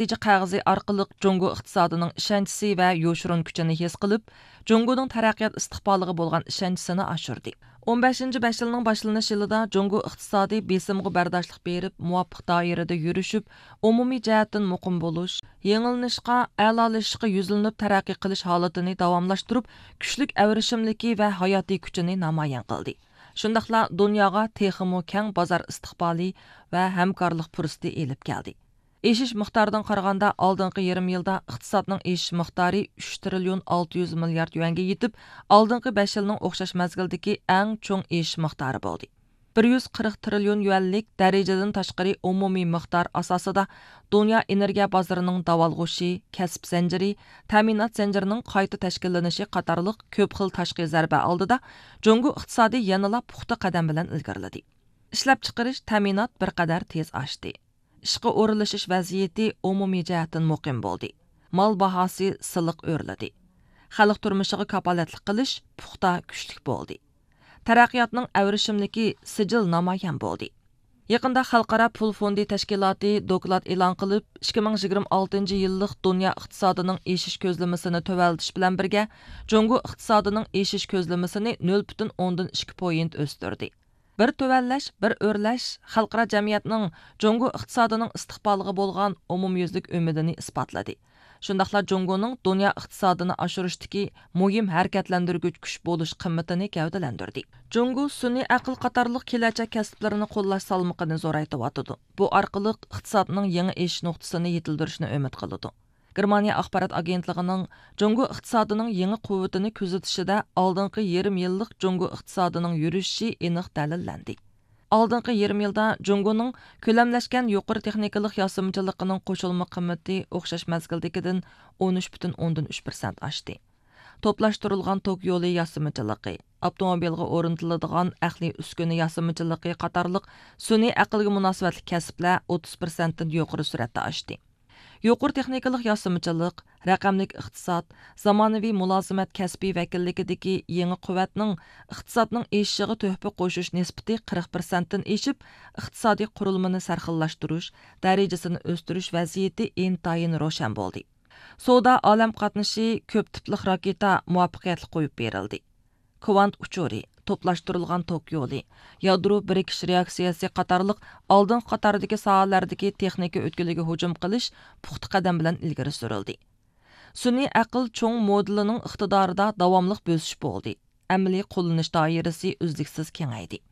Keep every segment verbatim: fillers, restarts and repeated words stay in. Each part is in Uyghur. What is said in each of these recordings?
نەتىجە قەغىزى ئارقىلىق جۇڭگو ئىقتىسادىنىڭ ئىشەنچىسى ۋە يوشۇرۇن كۈچىنى ھېس قىلىپ، جۇڭگونىڭ تەرەققىيات ئىستىقبالىغا بولغان ئىشەنچىسىنى ئاشۇردى. ئون بەشىنچى بەش يىلنىڭ باشلىنىش يىلىدا جۇڭگو ئىقتىسادى بېسىمغا بەرداشلىق بېرىپ، مۇۋاپىق دائىرىدە يۈرۈشۈپ، ئومۇمىي جەھەتتىن مۇقىم بولۇش، يېڭىلىنىشقا، ئەلالىشىشقا يۈزلىنىپ تەرەققىي قىلىش ھالىتىنى داۋاملاشتۇرۇپ، كۈچلۈك ئەۋرىشىملىكى ۋە ھاياتىي كۈچىنى نامايان قىلدى. شۇنداقلا دۇنياغا تېخىمۇ كەڭ بازار ئىستىقبالى ۋە ھەمكارلىق پۇرسىتى ئېلىپ كەلدى. ئېشىش مىقدارىدىن قارىغاندا، ئالدىنقى يېرىم يىلدا ئىقتىسادنىڭ ئېشىش مىقدارى ئۈچ تىرىليون ئالتە يۈز مىليارد يۈەنگە يېتىپ، ئالدىنقى بەش يىلنىڭ ئوخشاش مەزگىلدىكى ئەڭ چوڭ ئېشىش مىقدارى بولدى. بىر يۈز قىرىق تىرىليون يۈەنلىك دەرىجىدىن تاشقىرى ئومۇمىي مىقدار ئاساسىدا دۇنيا ئېنېرگىيە بازىرىنىڭ داۋالغۇشى، كەسىپ زەنجىرى، تەمىنات زەنجىرىنىڭ قايتا تەشكىللىنىشى قاتارلىق كۆپ خىل تاشقى زەربە ئالدىدا جۇڭگو ئىقتىسادى يەنىلا پۇختا قەدەم بىلەن ئىلگىرىلىدى. ئىشلەپچىقىرىش، تەمىنات بىر قەدەر تېز ئاشتى. ئىشقا ئورۇنلىشىش ۋەزىيىتى ئومۇمىي جەھەتتىن مۇقىم بولدى. مال باھاسى سىلىق ئۆرلىدى. خەلق تۇرمۇشىغا كاپالەتلىك قىلىش پۇختا، كۈچلۈك بولدى. تەرەققىياتنىڭ ئەۋرىشىملىكى سىجىل نامايان بولدى. يېقىندا خەلقئارا پۇل فوندى تەشكىلاتى دوكلات ئېلان قىلىپ، ئىككى مىڭ يىگىرمە ئالتىنچى يىللىق دۇنيا ئىقتىسادىنىڭ ئېشىش كۆزلىمىسىنى تۆۋەنلىتىش بىلەن بىرگە، جۇڭگو ئىقتىسادىنىڭ ئېشىش كۆزلىمىسىنى نۆل پۈتۈن ئوندىن ئىككى پوينت ئۆستۈردى. بىر تۆۋەنلەش، بىر ئۆرلەش خەلقئارا جەمئىيەتنىڭ جۇڭگو ئىقتىسادىنىڭ ئىستىقبالىغا بولغان ئومۇميۈزلۈك ئۈمىدىنى ئىسپاتلىدى. شۇنداقلا جۇڭگونىڭ دۇنيا ئىقتىسادىنى ئاشۇرۇشتىكى مۇھىم ھەرىكەتلەندۈرگۈچ كۈچ بولۇش قىممىتىنى گەۋدىلەندۈردى. جۇڭگو سۈنئىي ئەقىل قاتارلىق كېلەچەك كەسىپلىرىنى قوللاش سالمىقىنى زورايتىۋاتىدۇ. بۇ ئارقىلىق ئىقتىسادنىڭ يېڭى ئېشىش نۇقتىسىنى يېتىلدۈرۈشنى ئۈمىد قىلىدۇ. گېرمانىيە ئاخبارات ئاگېنتلىقىنىڭ جۇڭگو ئىقتىسادىنىڭ يېڭى قۇۋۋىتىنى كۆزىتىشىدە، ئالدىنقى يېرىم يىللىق جۇڭگو ئىقتىسادىنىڭ يۈرۈشۈشى ئېنىق دەلىللەندى. ئالدىنقى يېرىم يىلدا جۇڭگونىڭ كۆلەملەشكەن يۇقىرى تېخنىكىلىق ياسىمىچىلىقىنىڭ قوشۇلما قىممىتى ئوخشاش مەزگىلدىكىدىن ئون ئۈچ پۈتۈن ئوندىن ئۈچ پىرسەنت ئاشتى. توپلاشتۇرۇلغان توك يولى ياسىمىچىلىقى، ئاپتوموبىلغا ئورنىتىلىدىغان ئەقلىي ئۈسكۈنە ياسىمىچىلىقى قاتارلىق سۈنئىي ئەقىلگە مۇناسىۋەتلىك كەسىپلەر ئوتتۇز پىرسەنتتىن يۇقىرى سۈرئەتتە ئاشتى. يۇقىرى تېخنىكىلىق ياسىمىچىلىق، رەقەملىك ئىقتىساد، زامانىۋى مۇلازىمەت كەسپى ۋەكىللىكىدىكى يېڭى قۇۋۋەتنىڭ ئىقتىسادنىڭ ئېشىشىغا تۆھپە قوشۇش نىسبىتى قىرىق پىرسەنتتىن ئېشىپ، ئىقتىسادىي قۇرۇلمىنى سەرخىللاشتۇرۇش، دەرىجىسىنى ئۆستۈرۈش ۋەزىيىتى ئىنتايىن روشەن بولدى. سودا ئالەم قاتنىشى كۆپ تىپلىق راكېتا مۇۋەپپەقىيەتلىك قويۇپ بېرىلدى. كۋانت ئۇچۇرى، توپلاشتۇرۇلغان توك يولى، يادرو بىرىكىش رېئاكسىيەسى قاتارلىق ئالدىنقى قاتاردىكى ساھەلەردىكى تېخنىكا ئۆتكىلىگە ھۇجۇم قىلىش پۇختا قەدەم بىلەن ئىلگىرى سۈرۈلدى. سۈنئىي ئەقىل چوڭ مودېلىنىڭ ئىقتىدارىدا داۋاملىق بۆسۈش بولدى. ئەمەلىي قوللىنىش دائىرىسى ئۈزلۈكسىز كېڭەيدى.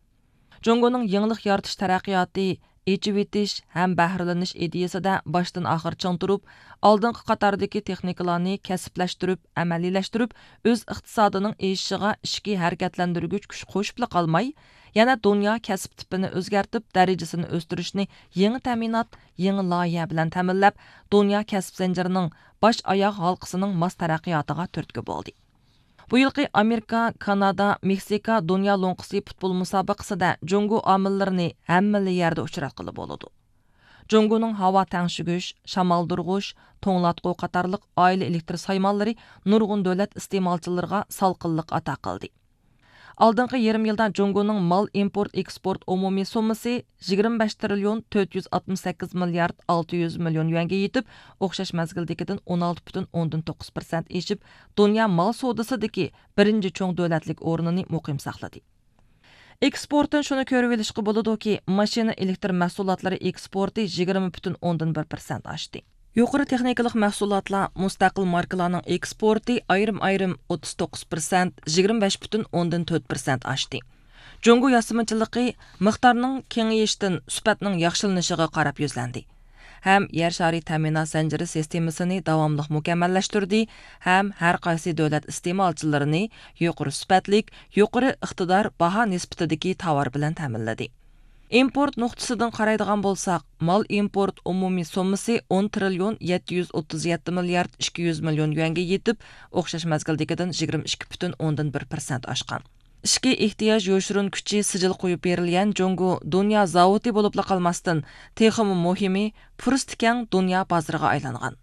جۇڭگونىڭ يېڭىلىق يارىتىش تەرەققىياتى، ئېچىۋېتىش ھەم بەھرىلىنىش ئىدىيىسىدە باشتىن ئاخىر چىڭ تۇرۇپ، ئالدىنقى قاتاردىكى تېخنىكىلارنى كەسىپلەشتۈرۈپ، ئەمەلىيلەشتۈرۈپ، ئۆز ئىقتىسادىنىڭ ئېشىشىغا ئىچكى ھەرىكەتلەندۈرگۈچ كۈچ قوشۇپلا قالماي، يەنە دۇنيا كەسىپ تىپىنى ئۆزگەرتىپ، دەرىجىسىنى ئۆستۈرۈشنى يېڭى تەمىنات، يېڭى لايىھە بىلەن تەمىنلەپ، دۇنيا كەسىپ زەنجىرىنىڭ باش ئاياغ ھالقىسىنىڭ ماس تەرەققىياتىغا تۈرتكە بولدى. بۇ يىلقى ئامېرىكا، كانادا، مېكسىكا دۇنيا لوڭقىسى پۇتبول مۇسابىقىسىدە جۇڭگو ئامىللىرىنى ھەممىلا يەردە ئۇچراتقىلى بولىدۇ. جۇڭگونىڭ ھاۋا تەڭشىگۈچ، شامالدۇرغۇچ، توڭلاتقۇ قاتارلىق ئائىلە ئېلېكتر سايمانلىرى نۇرغۇن دۆلەت ئىستېمالچىلىرىغا سالقىنلىق ئاتا قىلدى. ئالدىنقى يېرىم يىلدا جۇڭگونىڭ مال ئىمپورت ئېكسپورت ئومۇمىي سوممىسى يىگىرمە بەش تىرىليون تۆت يۈز ئاتمىش سەككىز مىليارد ئالتە يۈز مىليون يۈەنگە يېتىپ، ئوخشاش مەزگىلدىكىدىن ئون ئالتە پۈتۈن ئوندىن توققۇز پىرسەنت ئېشىپ، دۇنيا مال سودىسىدىكى بىرىنچى چوڭ دۆلەتلىك ئورنىنى مۇقىم ساقلىدى. ئېكسپورتتىن شۇنى كۆرۈۋېلىشقا بولىدۇكى، ماشىنا ئېلېكتر مەھسۇلاتلىرى ئېكسپورتى يىگىرمە پۈتۈن ئوندىن بىر پىرسەنت ئاشتى. يۇقىرى تېخنىكىلىق مەھسۇلاتلار، مۇستەقىل ماركىلارنىڭ ئېكسپورتى ئايرىم-ئايرىم ئوتتۇز توققۇز پىرسەنت، يىگىرمە بەش پۈتۈن ئوندىن تۆت پىرسەنت ئاشتى. جۇڭگو ياسىمىچىلىقى مىقدارنىڭ كېڭىيىشتىن سۈپەتنىڭ ياخشىلىنىشىغا قاراپ يۈزلەندى ھەم يەر شارى تەمىنات زەنجىرى سىستېمىسىنى داۋاملىق مۇكەممەللەشتۈردى ھەم ھەر قايسى دۆلەت ئىستېمالچىلىرىنى يۇقىرى سۈپەتلىك، يۇقىرى ئىقتىدار باھا نىسبىتىدىكى تاۋار بىلەن تەمىنلىدى. ئىمپورت نۇقتىسىدىن قارايدىغان بولساق، مال ئىمپورت ئومۇمىي سوممىسى ئون تىرىليون يەتتە يۈز ئوتتۇز يەتتە مىليارد ئىككى يۈز مىليون يۈەنگە يېتىپ، ئوخشاش مەزگىلدىكىدىن يىگىرمە ئىككى پۈتۈن ئوندىن بىر پىرسەنت ئاشقان. ئىچكى ئېھتىياج يوشۇرۇن كۈچى سىجىل قويۇپ بېرىلگەن جۇڭگو دۇنيا زاۋۇتى بولۇپلا قالماستىن، تېخىمۇ مۇھىمى، پۇرسىتى كەڭ دۇنيا بازىرىغا ئايلانغان.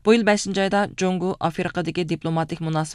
بۇ يىل بەشىنچى ئايدا جۇڭگو ئافرىقىدىكى دىپلوماتىك مۇناسىۋەت